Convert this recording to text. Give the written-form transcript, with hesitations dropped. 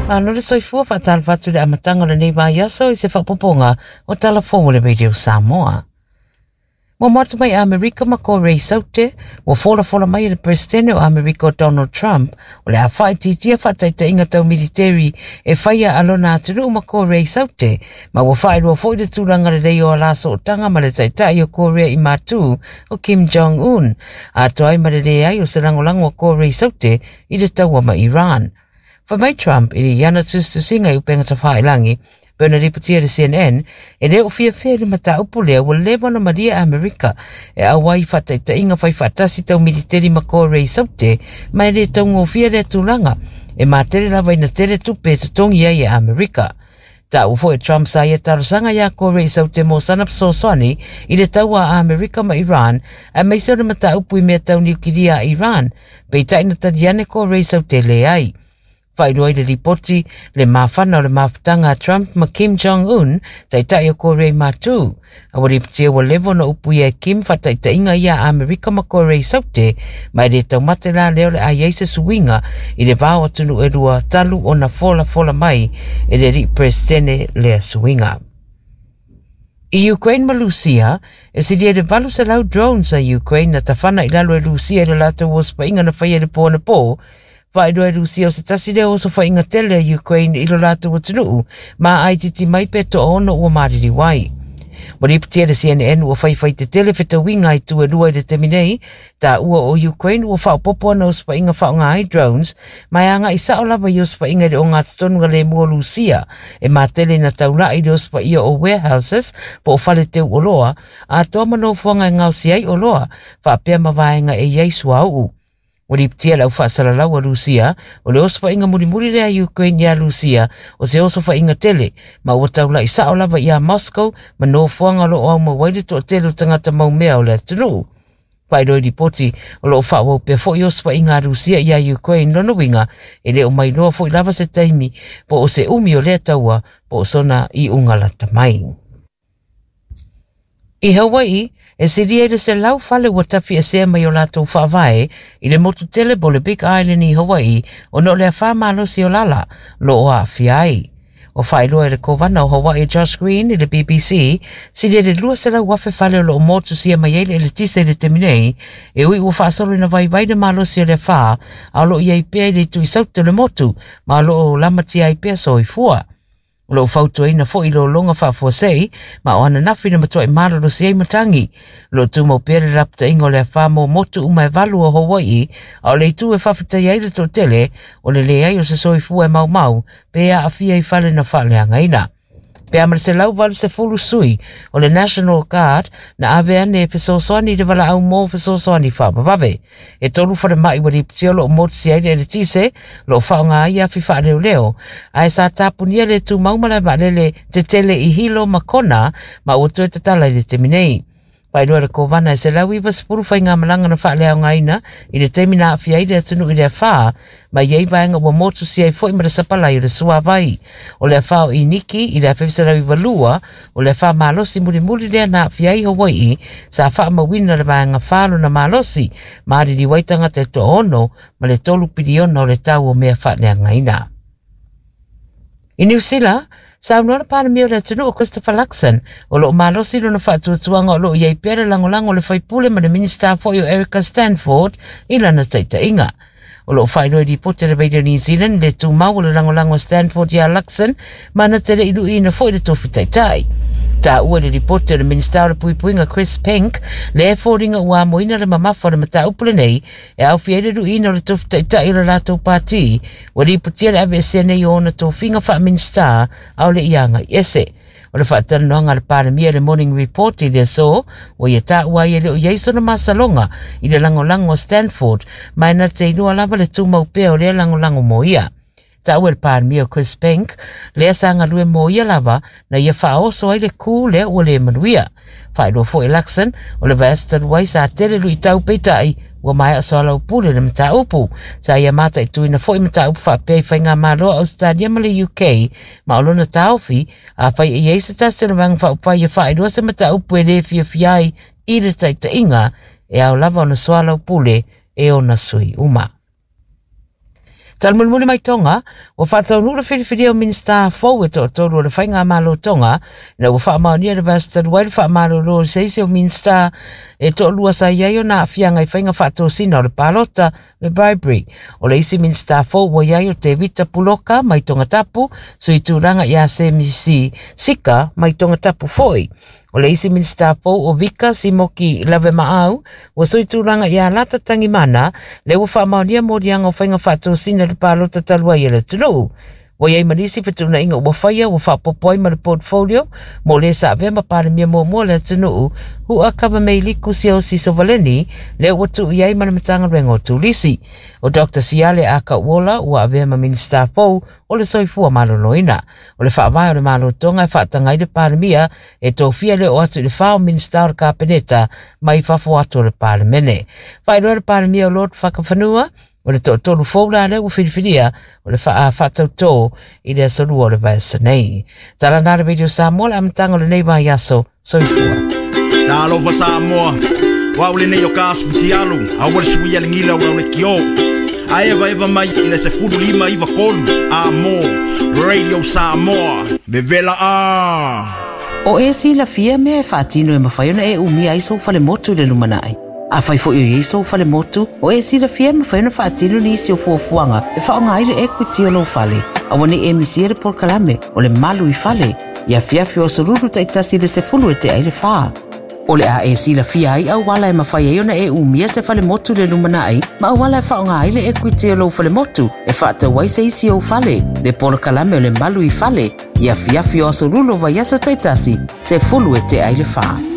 Malo le soifua faatalofa atu i le amataga o lenei vaiaso i se faaopoopoga o Tala Fou o le Radio Samoa. Muamua atu mai Amerika ma Korea i Saute, ua folafola mai e le Peresetene o Amerika o Donald Trump o le a faaitiitia faataitaiga tau militeri e faia a lona atunuu ma Korea i Saute, ma ua faailoa foi le tulaga lelei o ala sootaga ma le taitai o Korea i Matu o Kim Jong-un, atoa ai ma le leai o se lagolago a Korea i Saute i le taua ma Iran. Fai mai Trump i ana tusitusiga i upega tafailagi, pei ona lipotia e le CNN, e le o fiafia i le mataupu lea ua leva ona malie Amerika e auai i faataitaiga fai faatasi tau militeri ma Korea i Saute, ma e le taugofie lea tulaga, e matele lava ina tele tupe e totogi ai e Amerika. Taua foi e Trump sa ia talosaga iā Korea i Saute mo sana fesoasoani i le taua a Amerika ma Iran, aemaise o le mataupu i mea tau niukilia a Iran, peitai na tali ane Korea i Saute leai. Faailoa i le lipoti le mafana o le mafutaga a Trump ma Kim Jong-un, taitai o Korea i Matu. A ua lipotia ua leva ona upuia e Kim faataitaiga ia a Amerika ma Korea i Saute, ma e le taumate la lea o le a i ai se suiga i le va o atunuu e lua talu ona folafola mai e le alii Peresetene lea suiga. I Ukraine ma Lusia, e silia i le 800 drones a Ukraine na tafana i lalo e Lusia i le latou osofaiga na faia i le po anapo. Faailoa e Lusia o se tasi lea osofaiga tele a Ukraine i lo latou atunuu ma aititi mai pe toaono ua maliliu ai. Ua lipotia e le CNN ua faifai tetele fetauiga a itu e lua i le taimi nei, taua o Ukraine ua faaopoopo ana osofaiga faaaoga ai drones ma e agai sao lava i osofaiga i le ogatotonu lemu o Lusia e matele ina taulai i le osofaia o warehouses po o fale teu oloa atoa ma nofoaga e gaosi ai oloa faapea ma vaega e i ai suauu. Ua lipotia e le aufaasalalau a Lusia o le osofaiga mulimuli lea a Ukraine iā Lusia o se osofaiga tele ma ua taulai sao lava iā Moscow ma nofoaga o lo o aumau ai le toatele o tagata maumea o le atunuu. Faailoa i lipoti, o lo o faaauau pea foi osofaiga a Rusia iā Ukraine lona uiga e le o mailoa foi lava se taimi po o se umi o lea taua po o sona iuga lata mai. I Hawaii, e silia i le 100 fale ua tafiesea mai o latou faavae i le motu tele po o le Big Island i Hawaii ona o le afa malosi o lala o lo o aafia ai. Ua faailoa e le Kovana o Hawaii Josh Green i le BBC, silia i le 200,000 fale o lo o motusia mai ai le eletise i le taimi nei, e ui ua faasolo ina vaivai le malosi o le afa, a o lo o i ai pea i le itu i saute o le motu, ma o lo o lamatia ai pea soifua. O lo o fautuaina foi lologa faafuasei, ma o ananafi na matuai malolosi ai matagi. O lo o tumau pea le lapataiga o le afa mo motu uma e valu o Hawaii, a o le itu e faafetai ai le toatele, o le leai o se soifua e maumau pe aafia i fale na faaleagaina. Pe a ma le 180 sui o le National Guard na ave ane e fesoasoani i le valaau mo fesoasoani faavavave. E tolu falemai ua lipotia o lo o motusia ai le eletise, o lo o faaaoga ai afi faaleoleo, ae sa tapunia le tumau malae vaalele tetele i Hilo ma Kona ma ua toe tatala i le taimi nei. Faailoa e le Kovana e 190 faigamalaga na faaleaogaina i le taimi na aafia ai le atunuu i le afa, ma i ai vaega ua motusia ai foi ma le sapalai o le suavai. O le afa o Iniki i le 1992, o le afa malosi mulimuli lea na aafia ai Hawaii, sa faamauina le vaega 4 lona malosi, ma aliliu ai tagata e toaono ma le 3 piliona o le tau o mea faaleagaina. I Niu Sila, saunoa le Palemia o le atunuu o Christopher Luxon, o lo o malosi lona faatuatuaga o lo o i ai pea le lagolago a le faipule ma le Minisita foi o Erica Stanford i lana taitaiga. O lo o faailoa i lipoti a le Radio New Zealand le tumau o le lagolago a Stanford iā Luxon ma na te le i luiina foi le tofi taitai. Taua i le lipoti o le Minisita o le Puipuiga Chris Penk le foliga ua amoina le mamafa o le mataupu lenei e aofia ai le luiina o le tofi taitai o le latou pati, ua lipotia le aveesea nei o ona tofiga faa-Minisita ʻaʻole i agai ese. O le faatalanoaga a le Palemia i le Morning Report i le aso, ua ia taua ai e le o i ai sona masaloga i le lagolago a Stanford, ma e na te iloa lava le tumau pea o lea lagolago mo ia. Taua e le Palemia o Chris Penk, lea sa galue mo ia lava, na ia faaoso ai le kū lea ua le manuia. Faailoa foi e Luxon, o le vaiaso talu ai sa tele luitau peitai, ua maea soalaupule le mataupu. Sa ia mataituina foi mataupu faapea i faigamalo a Ausetalia ma le UK, ma o lona taofi, afai e i ai se tasi o le Vaega Faaupufai e faailoa se mataupu e le fiafia ai i le taitaiga, e ao lava ona soalaupule e ona sui uma. Tala mulimuli mai Tonga, ua faataunuu le filifilia o Minisita fou e toatolu o le Faigamalo Tonga, ina ua faamaonia le vaiaso talu ai le faamalolo o se isi o Minisita e toalua sa i ai ona aafiaga i faiga faatosina o le palota le bribery. O le isi Minisita fou ua i ai o Tevita Puloka mai Tongatapu, sui tulaga ia Semisi Sika mai Tongatapu foi. O le isi Minisita fou o Vika Simoki Lavemaau ua sui tulaga ia Lata Tangimana, le ua faamaonia moliaga o faiga faatosina i le palota talu ai e le atunuu. Ua i ai ma nisi fetuunaiga ua faia ua faaopoopo ai ma le portfolio mo le sa avea ma Palemia muamua o le atunuu, Hu'akavameiliku Siaosi Sovaleni, lea ua tuu i ai ma le Matagaluega o Turisi. O Dr. Siale Akauola ua avea ma Minisita fou o le Soifua Maloloina. O le faavae o le Malo Tonga e faataga ai le Palemia e tofia le oo atu i le 4 o Minisita o le Kapeneta mai fafo atu o le Palemene. Faailoa le Palemia o Lord Fakafanua, o le toatolu fou la lea ua filifilia o le faatautō i le aso 2 o le vaiaso nei. Tala na le Radio Samoa le amataga o lenei vaiaso. Soifua. Talofa Samoa, o au lenei o ka asufutialu, aua le suia le gila o lau leitio. A eva eva mai i le 15 93 a mo Radio Samoa, vevela a. O e silafia mea e faatino e mafai ona e umia ai sou falemotu i le lumanai. Afai foi o i ai sou falemotu, o e silafia e mafai ona faatino nisi o fuafuaga e faaaoga ai le equity o lou fale. Aua ne i e misia le polokalame o le malu i fale, i afiafi o aso Lulu taitasi i le 3:50. O le a e silafia ai auala e mafai ai ona e umia se falemotu i le lumanai, ma auala e faaaoga ai le equity o lou falemotu e faatau ai se isi ou fale, le polokalame o le malu i fale, i afiafi o aso Lulu o vaiaso taitasi, 3:50.